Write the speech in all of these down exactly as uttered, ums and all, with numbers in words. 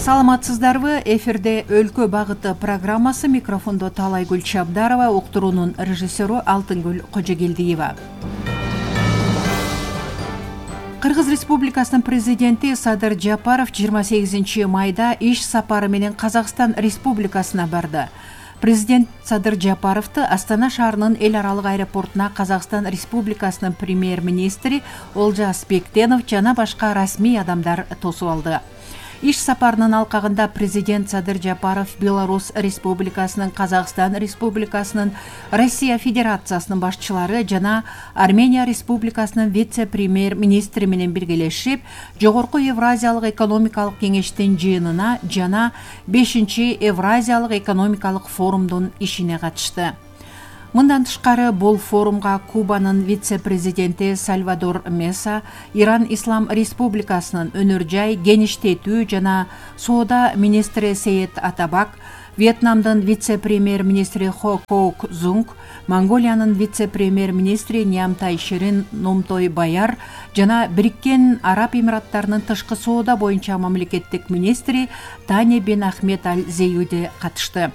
Саламатсыздарбы? Эфирде Өлкө багыты программасы, микрофондо Талайгүл Чабдарова, уктуруунун режиссеру Алтынгүл Кожогелдиева. Кыргыз Республикасынын президенти Садыр Жапаров жыйырма сегизинчи майда иш сапары менен Казакстан Республикасына барды. Президент Садыр Жапаровду Астана шаарынын эл аралык аэропортуна Казакстан Республикасынын премьер-министри Олжас Бектенов жана башка расмий адамдар тосуп алды. Иш сапарынын алкагында президент Садыр Жапаров Беларусь Республикасынын, Казакстан Республикасынын, Россия Федерациясынын башчылары жана Армения Республикасынын вице-премьер-министри менен биргелешип, Жогорку Евразиялык экономикалык кеңештин жыйынына жана бешинчи Евразиялык экономикалык форумдун ишине катышты. Мындан тышкары бул форумга Кубанын вице-президенти Сальвадор Меса, Иран Ислам Республикасынын өнөр жай, кеңиштетүү жана соода министри Сейет Атабак, Вьетнамдын вице-премьер-министри Хо Коук Зунг, Монголиянын вице-премьер-министри Нямтай Ширин Номтой Баяр жана Бириккен Араб Эмираттарынын тышкы соода боюнча мамлекеттик министри Таня бен Ахмед Аль Зеюди катышты.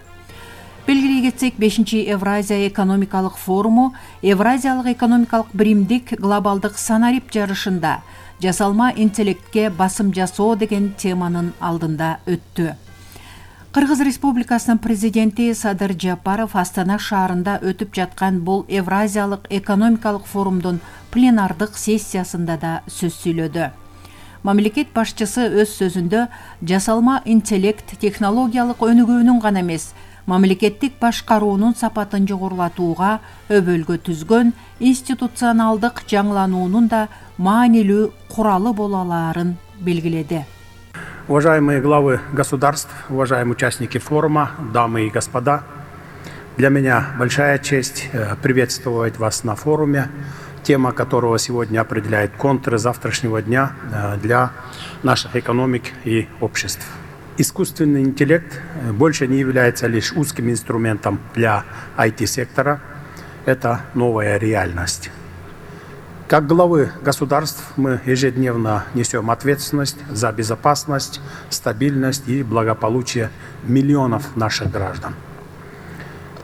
Белгилей кетсек, бешинчи Евразия экономикалык форуму Евразиялык экономикалык биримдик глобалдык санарип жарышында жасалма интеллектке басым жасоо деген теманын алдында өттү. Кыргыз Республикасынын президенти Садыр Жапаров Астана шаарында өтүп жаткан бул Евразиялык экономикалык форумдун пленардык сессиясында да сөз сүйлөдү. Мамлекет башчысы өз сөзүндө жасалма интеллект технологиялык өнүгүүнүн гана эмес, мамлекеттик башкаруунун сапатын жогорулатууга өбөлгө түзгөн институционалдык жаңылануунун да маанилүү куралы боло алаарын белгиледи. Уважаемые главы государств, уважаемые участники форума, дамы и господа, для меня большая честь приветствовать вас на форуме, тема которого сегодня определяет контуры завтрашнего дня для наших экономик и обществ. Искусственный интеллект больше не является лишь узким инструментом для ай ти-сектора. Это новая реальность. Как главы государств мы ежедневно несем ответственность за безопасность, стабильность и благополучие миллионов наших граждан.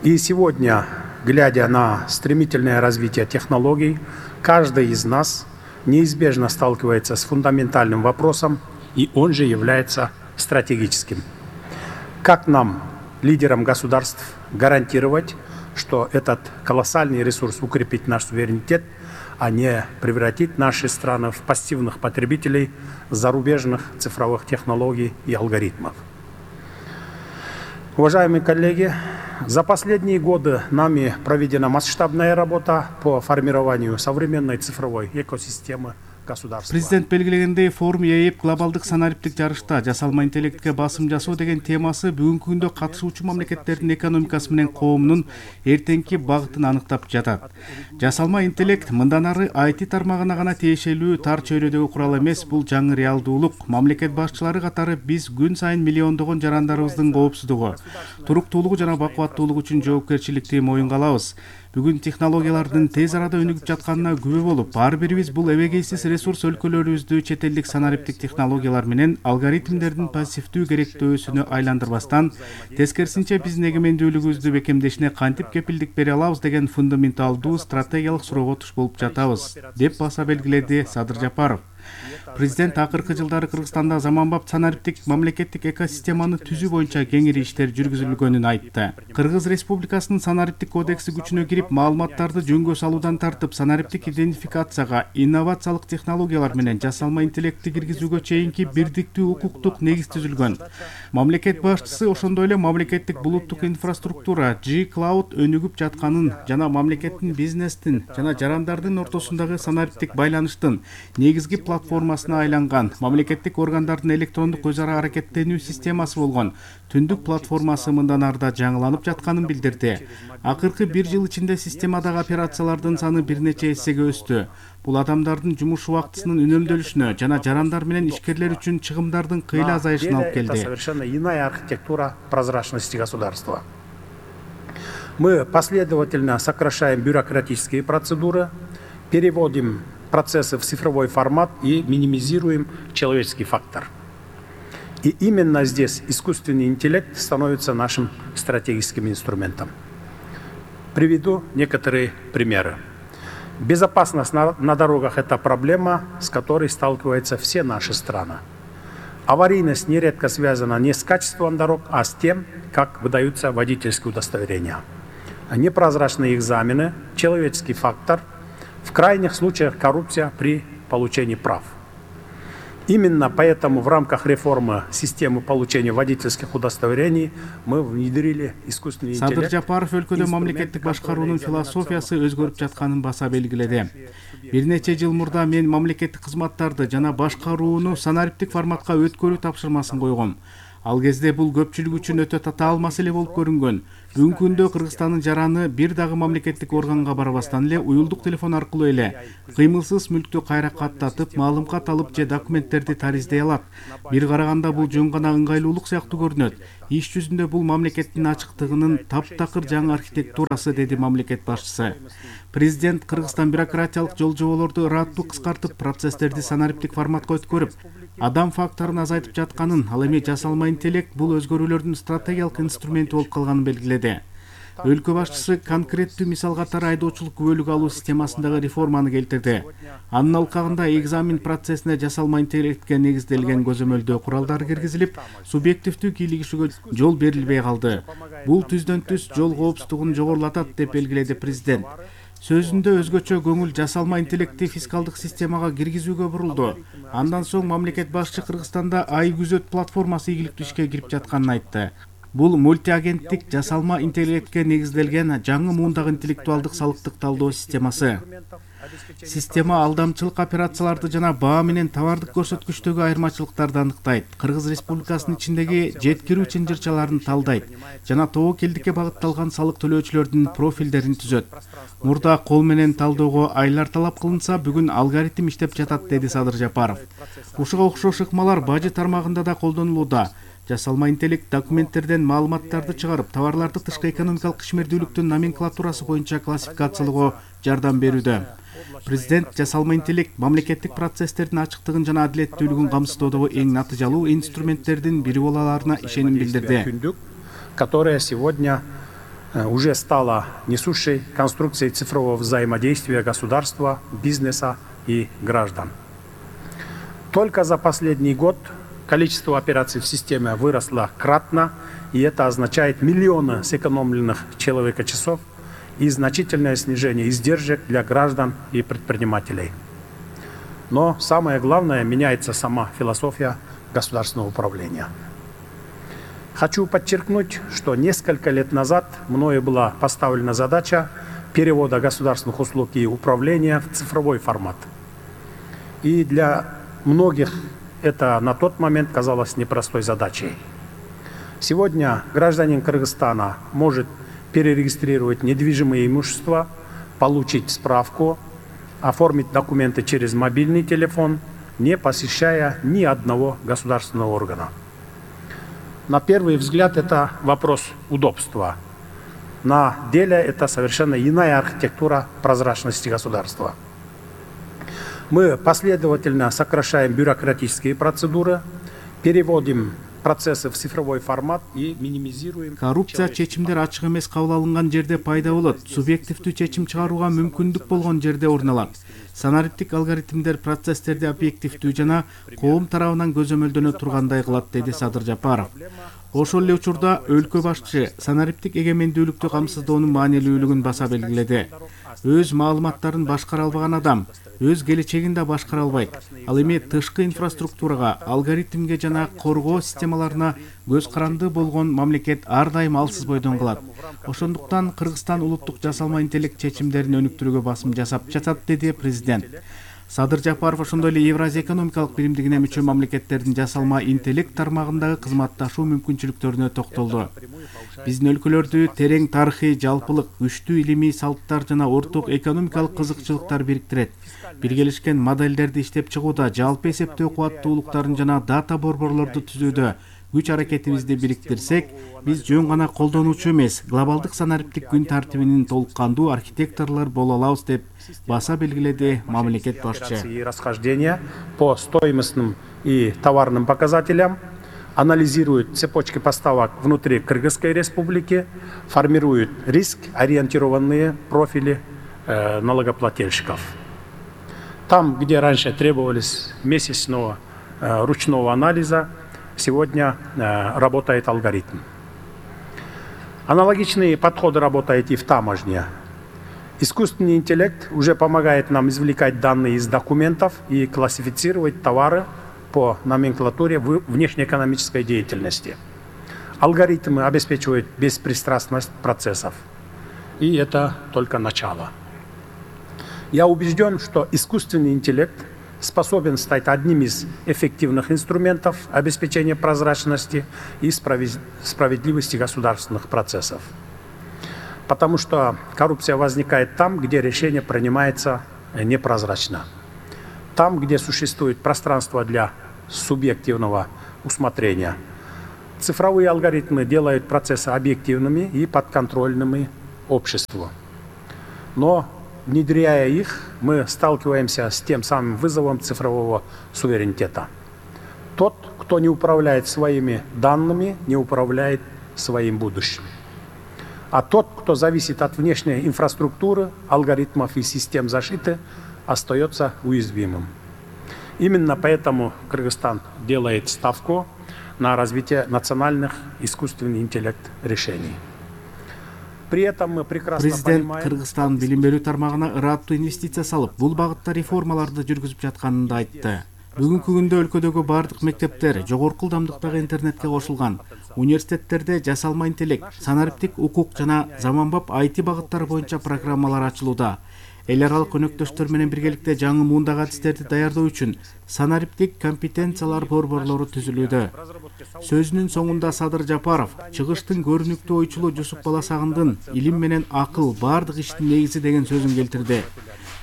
И сегодня, глядя на стремительное развитие технологий, каждый из нас неизбежно сталкивается с фундаментальным вопросом, и он же является стратегическим. Как нам, лидерам государств, гарантировать, что этот колоссальный ресурс укрепит наш суверенитет, а не превратить наши страны в пассивных потребителей зарубежных цифровых технологий и алгоритмов? Уважаемые коллеги, за последние годы нами проведена масштабная работа по формированию современной цифровой экосистемы. Президент белгилегендей, форум ээп глобалдык санариптик жарышта жасалма интеллектке басым жасоо деген темасы бүгүнкү күндө катышуучу мамлекеттердин экономикасы менен коомунун эртеңки багытын аныктап жатат. Жасалма интеллект мындан ары ай ти тармагына гана тиешелүү тар чөйрөдөгү курал эмес, бул жаңы реалдуулук. Мамлекет башчылары катары биз күн сайын миллиондогон жарандарыбыздын коопсуздугу, туруктуулугу жана бакубаттуулугу үчүн жоопкерчиликти моюнга алабыз. Бүгүн технологиялардын тез арада өнүгүп жатканына күбө болуп, ар бирибиз бул эбегейсиз ресурс өлкөлөрүбүздү чет элдик санариптик технологиялар менен алгоритмдердин пассивдүү керектөөсүнө айландырбастан, тескерисинче биздин эгемендүүлүгүбүздү бекемдешине кантип кепилдик бере алабыз деген фундаменталдуу стратегиялык суроого туш болуп жатабыз, деп баса белгиледи Садыр Жапаров. Президент акыркы жылдары Кыргызстанда заманбап санариптик мамлекеттик экосистеманы түзүү боюнча кеңири иштер жүргүзүлгөнүн айтты. Кыргыз Республикасынын санариптик кодекси күчүнө кирип, маалыматтарды жөнгө салуудан тартып, санариптик идентификацияга, инновациялык технологиялар менен жасалма интеллектти киргизүүгө чейинки бирдиктүү укуктук негиз түзүлгөн. Мамлекет башчысы ошондой эле мамлекеттик булуттук инфраструктура G-Cloud өнүгүп жатканын жана мамлекеттин, бизнестин жана жарандардын ортосундагы санариптик байланыштын негизги платформасына айланган мамлекеттик органдардын электрондук өз ара аракеттенүү системасы болгон Түндүк платформасы мындан арда жаңыланып жатканын билдирди. Акыркы бир жыл ичинде системадагы операциялардын саны бир нече эсеге өстү. Бул адамдардын жумуш убактысынын үнөмдөлүшүнө жана жарандар менен ишкерлер үчүн чыгымдардын кыйла азайышына алып келди. Это совершенно иная архитектура прозрачности государства. Мы последовательно сокращаем бюрократические процедуры, переводим процессы в цифровой формат и минимизируем человеческий фактор. И именно здесь искусственный интеллект становится нашим стратегическим инструментом. Приведу некоторые примеры. Безопасность на, на дорогах – это проблема, с которой сталкиваются все наши страны. Аварийность нередко связана не с качеством дорог, а с тем, как выдаются водительские удостоверения. Непрозрачные экзамены, человеческий фактор, в крайних случаях коррупция при получении прав. Именно поэтому в рамках реформы системы получения водительских удостоверений мы внедрили искусственный интеллект. Садыр Жапаров өлкөдө мамлекеттик башкаруунун философиясы өзгөрүп жатканын баса белгиледи. Бир нече жыл мурда мен мамлекеттик кызматтарды жана башкарууну санариптик форматка өткөрүү тапшырмасын койгом. Ал кезде бул көпчүлүк үчүн өтө татаал маселе болуп көрүнгөн. Бүгүнкү күндө Кыргызстандын жараны бир дагы мамлекеттик органга барбастан эле уюлдук телефон аркылуу эле кыймылсыз мүлктү кайра каттатып, маалымат алып же документтерди тариздей алат. Бир караганда бул жөн гана ыңгайлуулук сыяктуу көрүнөт. Иш жүзүндө бул мамлекеттин ачыктыгынын таптакыр жаңы архитектурасы, деди мамлекет башчысы. Президент Кыргызстан бюрократиялык жол жоболорду ыраттуу кыскартып, процесстерди санариптик форматка өткөрүп, адам факторун азайтып жатканын, ал эми жасалма интеллект бул өзгөрүүлөрдүн стратегиялык инструменти болуп калганын белгиледи. Өлкө башчысы конкреттүү мисал катары айдоочулук күбөлүк алуу системасындагы реформаны келтирди. Анын алкагында экзамен процессине жасалма интеллектке негизделген көзөмөлдөө куралдары киргизилип, субъективдүү кийлигишүүгө жол берилбей калды. Бул түздөн түз жол коопсуздугун жогорулатат, деп белгиледи президент. Сөзүндө өзгөчө көңүл жасалма интеллектти фискалдык системага киргизүүгө бурулду. Андан соң мамлекет башчы Кыргызстанда ай күзөт платформасы ийгиликтүү ишке кирип жатканын айтты. Бул мультиагенттик жасалма интеллектке негизделген жаңы муундагы интеллектуалдык салыктык талдоо системасы. Система алдамчылык операцияларды жана баа менен товардык көрсөткүчтөгү айырмачылыктарды аныктайт, Кыргыз Республикасынын ичиндеги жеткирүү чынжырчаларын талдайт жана тобокелдикке багытталган салык төлөөчүлөрдүн профилдерин түзөт. Мурда кол менен талдоого айлар талап кылынса, бүгүн алгоритм иштеп жатат, деди Садыр Жапаров. Ушуга окшош ыкмалар бажы тармагында да колдонулууда. Жасалма интеллект документтерден маалыматтарды чыгарып, товарларды тышкы экономикалык ишмердүүлүктүн номенклатурасы боюнча классификациялоого жардам берүүдө. Президент жасалма интеллект мамлекеттик процесстердин ачыктыгын жана адилеттүүлүгүн камсыздоодогу эң натыйжалуу инструменттердин бири боло аларына ишеним билдирди. Которая сегодня уже стала несущей конструкцией цифрового взаимодействия государства, бизнеса и граждан. Только за последний год количество операций в системе выросло кратно, и это означает миллионы сэкономленных человека-часов и значительное снижение издержек для граждан и предпринимателей. Но самое главное, меняется сама философия государственного управления. Хочу подчеркнуть, что несколько лет назад мною была поставлена задача перевода государственных услуг и управления в цифровой формат. И для многих это на тот момент казалось непростой задачей. Сегодня гражданин Кыргызстана может перерегистрировать недвижимое имущество, получить справку, оформить документы через мобильный телефон, не посещая ни одного государственного органа. На первый взгляд это вопрос удобства. На деле это совершенно иная архитектура прозрачности государства. Мы последовательно сокращаем бюрократические процедуры, переводим процессы в цифровой формат и минимизируем. Коррупция чечимдер ачык эмес кабыл алынган жерде пайда болот. Субъективдүү чечим чыгарууга мүмкүндүк болгон жерде орун алат. Санариптик алгоритмдер процесстерди объективдүү жана коом тарабынан көзөмөлдөнө тургандай кылат, деди Садыр Жапаров. Ошол эле учурда өлкө башчы санариптик эгемендүүлүктү камсыздоонун маанилүүлүгүн баса белгиледи. Өз маалыматтарын башкара албаган адам өз келечегин да башкара албайт. Ал эми тышкы инфраструктурага, алгоритмге жана коргоо системаларына көз каранды болгон мамлекет ар дайым алсыз бойдон калат. Ошондуктан Кыргызстан улуттук жасалма интеллект чечимдерин өнүктүрүүгө басым жасап жатат, деди президент. Садыр Жапаров ошондой эле Евразия экономикалык биримдигине мүчө мамлекеттердин жасалма интеллект тармагындагы кызматташуу мүмкүнчүлүктөрүнө токтолду. Биздин өлкөлөрдү терең тарыхый жалпылык, күчтүү илимий салттар жана орток экономикалык кызыкчылыктар бириктирет. Биргелешкен модельдерди иштеп чыгууда, жалпы эсептөө кубаттуулуктарын жана дата борборлорду түзүүдө күч аракетибизди бириктирсек, биз жөн гана колдонуучу эмес, глобалдык санариптик күн тартибинин толук кандуу архитекторлор боло алабыз, деп баса белгиледи мамлекет башчы. Расхождения по стоимостным и товарным показателям анализирует цепочки поставок внутри Кыргызской республики, формирует риск-ориентированные профили э, налогоплательщиков. Там, где раньше требовались месячного э, ручного анализа, сегодня э, работает алгоритм. Аналогичные подходы работают и в таможне. Искусственный интеллект уже помогает нам извлекать данные из документов и классифицировать товары по номенклатуре внешнеэкономической деятельности. Алгоритмы обеспечивают беспристрастность процессов. И это только начало. Я убежден, что искусственный интеллект способен стать одним из эффективных инструментов обеспечения прозрачности и справедливости государственных процессов. Потому что коррупция возникает там, где решение принимается непрозрачно. Там, где существует пространство для субъективного усмотрения. Цифровые алгоритмы делают процессы объективными и подконтрольными обществу. Но, внедряя их, мы сталкиваемся с тем самым вызовом цифрового суверенитета. Тот, кто не управляет своими данными, не управляет своим будущим. А тот, кто зависит от внешней инфраструктуры, алгоритмов и систем защиты, остается уязвимым. Именно поэтому Кыргызстан делает ставку на развитие национальных искусственный интеллект решений. При этом мы прекрасно Президент понимаем... Кыргызстан билим берүү тармагына ыраттуу инвестиция салып, бул багытта реформаларды жүргүзүп жатканын да айтты. Бүгүнкү күндө өлкөдөгү бардык мектептер жогорку ылдамдыктагы интернетке кошулган. Университеттерде жасалма интеллект, санариптик укук жана заманбап ай ти багыттары боюнча программалар ачылууда. Эл аралык өнөктөштөр менен биргеликте жаңы муундагы адистерди даярдоо үчүн санариптик компетенциялар борборлору түзүлүүдө. Сөзүнүн соңунда Садыр Жапаров чыгыштын көрүнүктүү ойчулу Жусуп Баласагындын илим менен акыл бардык иштин негизи деген сөзүн келтирди.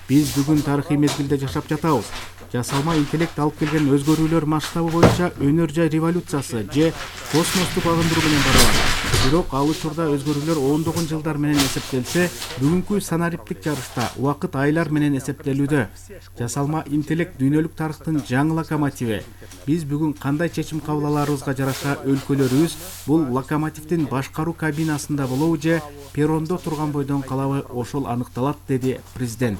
Биз бүгүн тарыхый мезгилде жашап жатабыз. Жасалма интеллект алып келген өзгөрүүлөр масштабы боюнча өнөр жай революциясы же космостук агындыруу менен барабар. Бирок ал учурда өзгөрүүлөр ондогон жылдар менен эсептелсе, бүгүнкү санариптик жарышта убакыт айлар менен эсептелүүдө. Жасалма интеллект дүйнөлүк тарыхтын жаңы локомотиви. Биз бүгүн кандай чечим кабыл аларыбызга жараша өлкөлөрүбүз бул локомотивдин башкаруу кабинасында болобу же перрондо турган бойдон калабы ошол аныкталат, деди президент.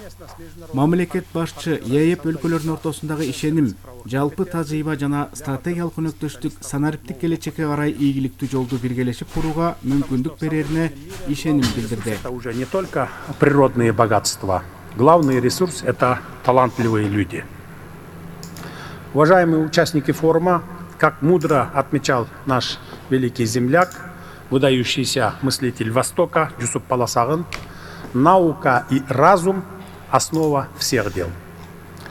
Мамлекет башчы ЕЭП өлкөлөрүнүн ортосундагы ишеним, жалпы тажрыйба жана стратегиялык өнөктөштүк санариптик келечекке карай ийгиликтүү жолду биргелешип курууга мүмкүндүк берерине ишеним билдирди. Это уже не только природные богатства. Главный ресурс — это талантливые люди. Уважаемые участники форума, как мудро отмечал наш великий земляк, выдающийся мыслитель Востока Жусуп Баласагын, наука и разум — основа всех дел.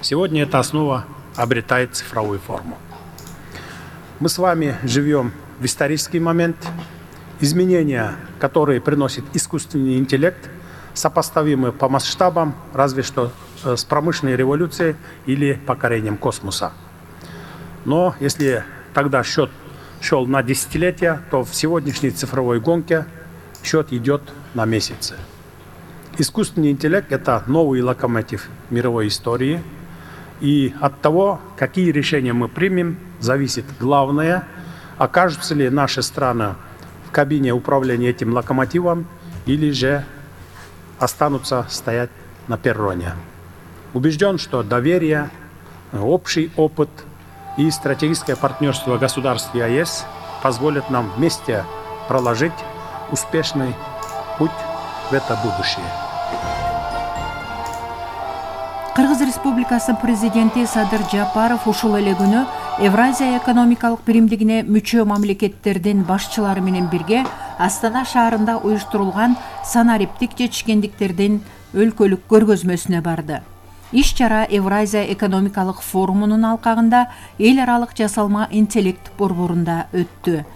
Сегодня эта основа обретает цифровую форму. Мы с вами живем в исторический момент. Изменения, которые приносит искусственный интеллект, сопоставимы по масштабам разве что с промышленной революцией или покорением космоса. Но если тогда счет шел на десятилетия, то в сегодняшней цифровой гонке счет идет на месяцы. Искусственный интеллект — это новый локомотив мировой истории. И от того, какие решения мы примем, зависит главное, окажутся ли наши страны в кабине управления этим локомотивом или же останутся стоять на перроне. Убежден, что доверие, общий опыт и стратегическое партнерство государств ЕАЭС позволят нам вместе проложить успешный путь в это будущее. Кыргыз Республикасынын президенти Садыр Жапаров ушул эле күнү Евразия экономикалык биримдигине мүчө мамлекеттердин башчылары менен бирге Астана шаарында уюштурулган санариптик жетишкендиктердин өлкөлүк көргөзмөсүнө барды. Иш-чара Евразия экономикалык форумунун алкагында эл аралык жасалма интеллект борборунда өттү.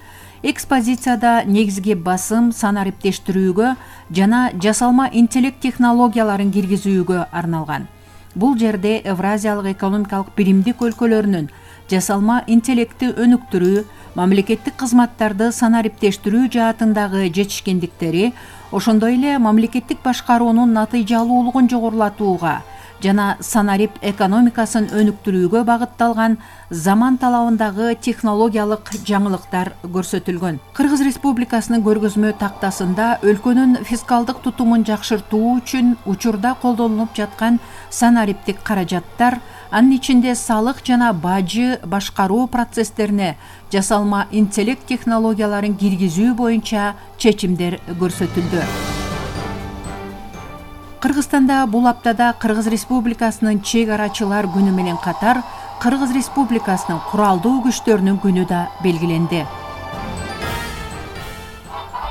Экспозицияда негизги басым санариптештирүүгө жана жасалма интеллект технологияларын киргизүүгө арналган. Бул жерде Евразиялык экономикалык биримдик өлкөлөрүнүн жасалма интеллектти өнүктүрүү, мамлекеттик кызматтарды санариптештирүү жаатындагы жетишкендиктери, ошондой эле мамлекеттик башкаруунун натыйжалуулугун жогорулатууга жана санарип экономикасын өнүктүрүүгө багытталган заман талабындагы технологиялык жаңылыктар көрсөтүлгөн. Кыргыз Республикасынын көргөзмө тактасында өлкөнүн фискалдык тутумун жакшыртуу үчүн учурда колдонулуп жаткан санариптик каражаттар, анын ичинде салык жана бажы башкаруу процесстерине жасалма интеллект технологияларын киргизүү боюнча чечимдер көрсөтүлдү. Кыргызстанда бул аптада Кыргыз Республикасынын чек арачылар күнү менен катар Кыргыз Республикасынын куралдуу күчтөрүнүн күнү да белгиленди.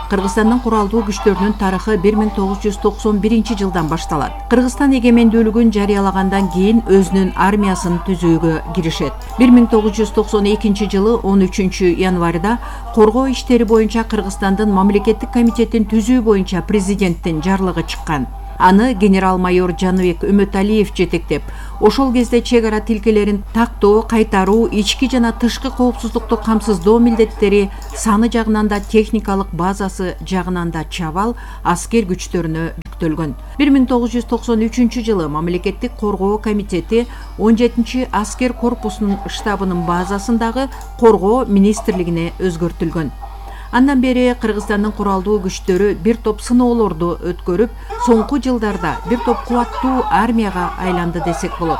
Кыргызстандын куралдуу күчтөрүнүн тарыхы бир миң тогуз жүз токсон биринчи жылдан башталат. Кыргызстан эгемендүүлүгүн жарыялагандан кийин өзүнүн армиясын түзүүгө киришет. бир миң тогуз жүз токсон экинчи жылы он үчүнчү январда коргоо иштери боюнча Кыргызстандын мамлекеттик комитетин түзүү боюнча президенттин жарлыгы чыккан. Аны генерал-майор Жаныбек Үмөталиев жетектеп, ошол кезде чек ара тилкелерин тактоо, кайтаруу, ички жана тышкы коопсуздукту камсыздоо милдеттери саны жагынан да техникалык базасы жагынан да чабал аскер күчтөрүнө жүктөлгөн. бир миң тогуз жүз токсон үчүнчү жылы мамлекеттик коргоо комитети он жетинчи аскер корпусунун штабынын базасындагы коргоо министрлигине өзгөртүлгөн. Андан бери Кыргызстандын куралдуу күчтөрү бир топ сыноолорду өткөрүп, соңку жылдарда бир топ кубаттуу армияга айланды десек болот.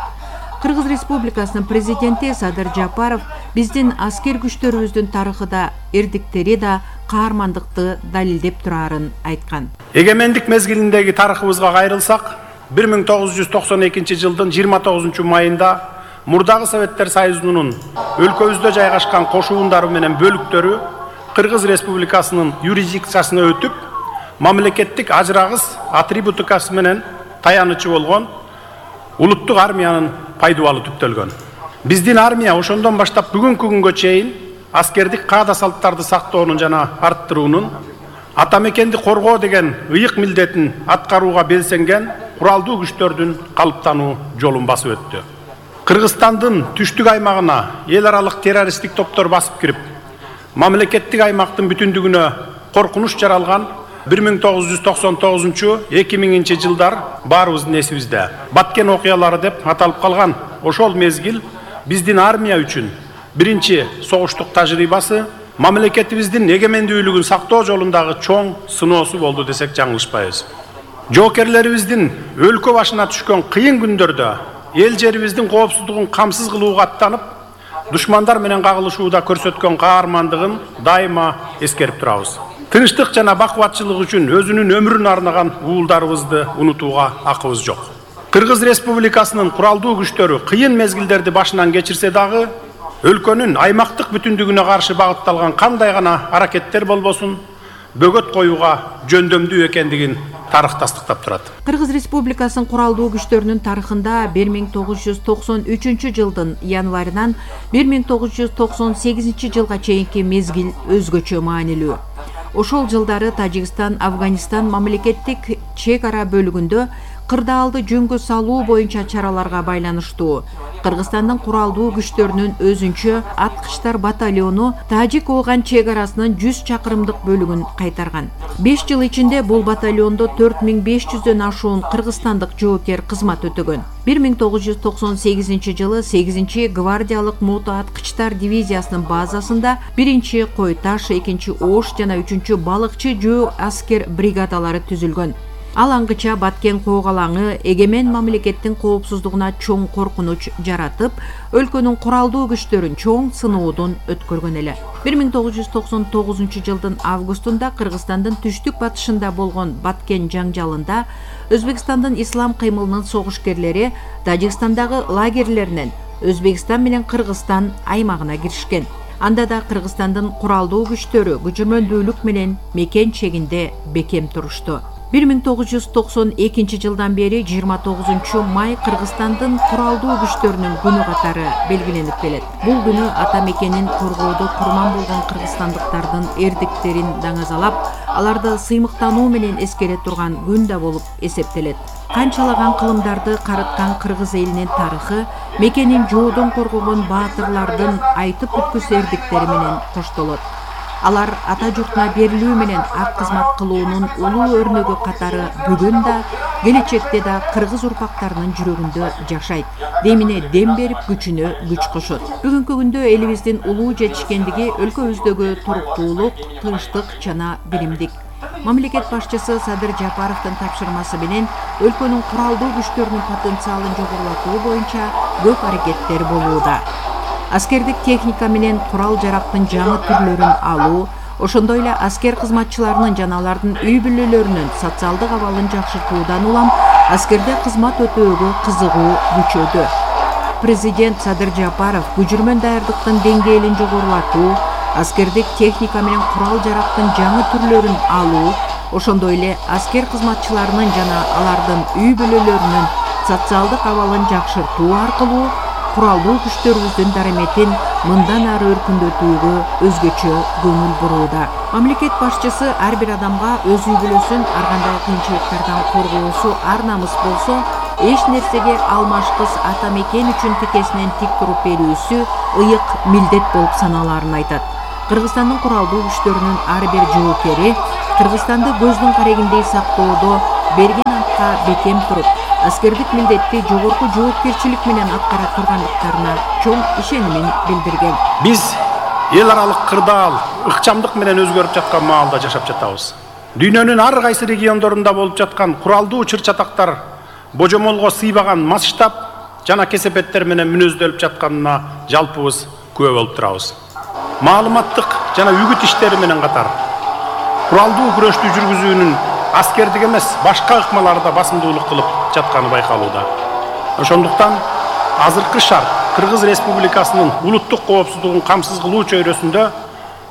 Кыргыз Республикасынын президенти Садыр Жапаров биздин аскер күчтөрүбүздүн тарыхы да, эрдиктери да каармандыкты далилдеп турарын айткан. Эгемендик мезгилиндеги тарыхыбызга кайрылсак, бир миң тогуз жүз токсон экинчи жылдын жыйырма тогузунчу майында мурдагы Советтер Союзунун өлкөбүздө жайгашкан кошуундары менен бөлүктөрү Кыргыз Республикасынын юрисдикциясына өтүп, мамлекеттик ажырагыс атрибутикасы менен таянычы болгон улуттук армиянын пайдубалы түптөлгөн. Биздин армия ошондон баштап бүгүнкү күнгө чейин аскердик каада салттарды сактоонун жана арттыруунун, ата мекенди коргоо деген ыйык милдетин аткарууга белсенген куралдуу күчтөрдүн калыптануу жолун басып өттү. Кыргызстандын түштүк аймагына эл аралык террористтик топтор басып кирип, мамлекеттик аймактын бүтүндүгүнө коркунуч жаралган бир миң тогуз жүз токсон тогузунчу — эки миңинчи жылдар баарыбыздын эсибизде. Баткен окуялары деп аталып калган ошол мезгил биздин армия үчүн биринчи согуштук тажрыйбасы, мамлекетибиздин эгемендүүлүгүн сактоо жолундагы чоң сыноосу болду десек жаңылышпайбыз. Жоокерлерибиздин өлкө башына түшкөн кыйын күндөрдө эл жерибиздин коопсуздугун камсыз кылууга аттанып, душмандар менен кагылышууда көрсөткөн каармандыгын дайыма эскерип турабыз. Тынчтык жана бакубатчылык үчүн өзүнүн өмүрүн арнаган уулдарыбызды унутууга акыбыз жок. Кыргыз Республикасынын куралдуу күчтөрү кыйын мезгилдерди башынан кечирсе дагы, өлкөнүн аймактык бүтүндүгүнө каршы багытталган кандай гана аракеттер болбосун, бөгөт коюуга жөндөмдүү экендигин тарых тастыктап турат. Кыргыз Республикасынын куралдуу күчтөрүнүн тарыхында бир миң тогуз жүз токсон үчүнчү жылдын январынан бир миң тогуз жүз токсон сегизинчи жылга чейинки мезгил өзгөчө маанилүү. Ошол жылдары Тажикстан, Афганистан мамлекеттик чек ара бөлүгүндө кырдаалды жөнгө салуу боюнча чараларга байланыштуу Кыргызстандын куралдуу күчтөрүнүн өзүнчө аткычтар батальону Тажик-Ооган чек арасынын жүз чакырымдык бөлүгүн кайтарган. беш жыл ичинде бул батальондо төрт миң беш жүздөн ашуун кыргызстандык жоокер кызмат өтөгөн. бир миң тогуз жүз токсон сегизинчи жылы сегизинчи гвардиялык мото аткычтар дивизиясынын базасында биринчи Кой Таш, экинчи Ош жана үчүнчү балыкчы жөө аскер бригадалары түзүлгөн. Ал аңгыча Баткен коогалаңы эгемен мамлекеттин коопсуздугуна чоң коркунуч жаратып, өлкөнүн куралдуу күчтөрүн чоң сыноодон өткөргөн эле. бир миң тогуз жүз токсон тогузунчу жылдын августунда Кыргызстандын түштүк батышында болгон Баткен жаңжалында Өзбекстандын ислам кыймылынын согушкерлери Тажикстандагы лагерлеринен Өзбекстан менен Кыргызстан аймагына киришкен. Анда да Кыргызстандын куралдуу күчтөрү күчмөндүүлүк менен мекен чегинде бекем турушту. бир миң тогуз жүз токсон экинчи жылдан бери жыйырма тогузунчу май Кыргызстандын куралдуу күчтөрүнүн күнү катары белгиленип келет. Бул күнү ата мекенин коргоодо курман болгон кыргызстандыктардын эрдиктерин даңазалап, аларды сыймыктануу менен эскере турган күн да болуп эсептелет. Канчалаган кылымдарды карыткан кыргыз элинин тарыхы мекенин жоодон коргогон баатырлардын айтып бүткүс эрдиктери менен коштолот. Алар ата журтуна берилүү менен ак кызмат кылуунун улуу өрнөгү катары бүгүн да, келечекте да кыргыз урпактарынын жүрөгүндө жашайт. Демине дем берип, күчүнө күч кошот. Бүгүнкү күндө элибиздин улуу жетишкендиги өлкөбүздөгү туруктуулук, тынчтык жана биримдик. Мамлекет башчысы Садыр Жапаровдун тапшырмасы менен өлкөнүн куралдуу күчтөрүнүн потенциалын жогорулатуу боюнча көп аракеттер болууда. Аскердик техника менен курал-жарактын жаңы түрлөрүн алуу, ошондой эле аскер кызматчыларынын жана алардын үй бүлөлөрүнүн социалдык абалын жакшыртуудан улам аскерде кызмат өтөөгө кызыгуу күчөдү. Президент Садыр Жапаров күжүрмөн даярдыктын деңгээлин жогорулатуу, аскердик техника менен курал-жарактын жаңы түрлөрүн алуу, ошондой эле аскер кызматчыларынын жана алардын үй бүлөлөрүнүн социалдык абалын жакшыртуу аркылуу куралдуу күчтөрүбүздүн дараметин мындан ары өркүндөтүүгө өзгөчө көңүл бурууда. Мамлекет башчысы ар бир адамга өз үй бүлөсүн ар кандай кыйынчылыктардан коргоосу ар намыс болсо, эч нерсеге алмашкыс ата мекен үчүн тикесинен тик туруп берүүсү ыйык милдет болуп саналаарын айтат. Кыргызстандын куралдуу күчтөрүнүн ар бир жоокери Кыргызстанды көздүн карегиндей сактоодо берген антка бекем туруп, аскердик милдетти жогорку жоопкерчилик менен аткара тургандыктарына чоң ишенимин билдирген. Биз эл аралык кырдаал, ыкчамдык менен өзгөрүп жаткан маалда жашап жатабыз. Дүйнөнүн ар кайсы региондорунда болуп жаткан куралдуу чыр-чатактар божомолго сыйбаган масштаб жана кесепеттер менен мүнөздөлүп жатканына жалпыбыз күбө болуп турабыз. Маалыматтык жана үгүт иштери менен катар куралдуу күрөштү жүргүзүүнүн аскердик эмес, башка ыкмаларда басымдуулук кылып жатканы байкалууда. Ошондуктан азыркы шарт Кыргыз Республикасынын улуттук коопсуздугун камсыз кылуу чөйрөсүндө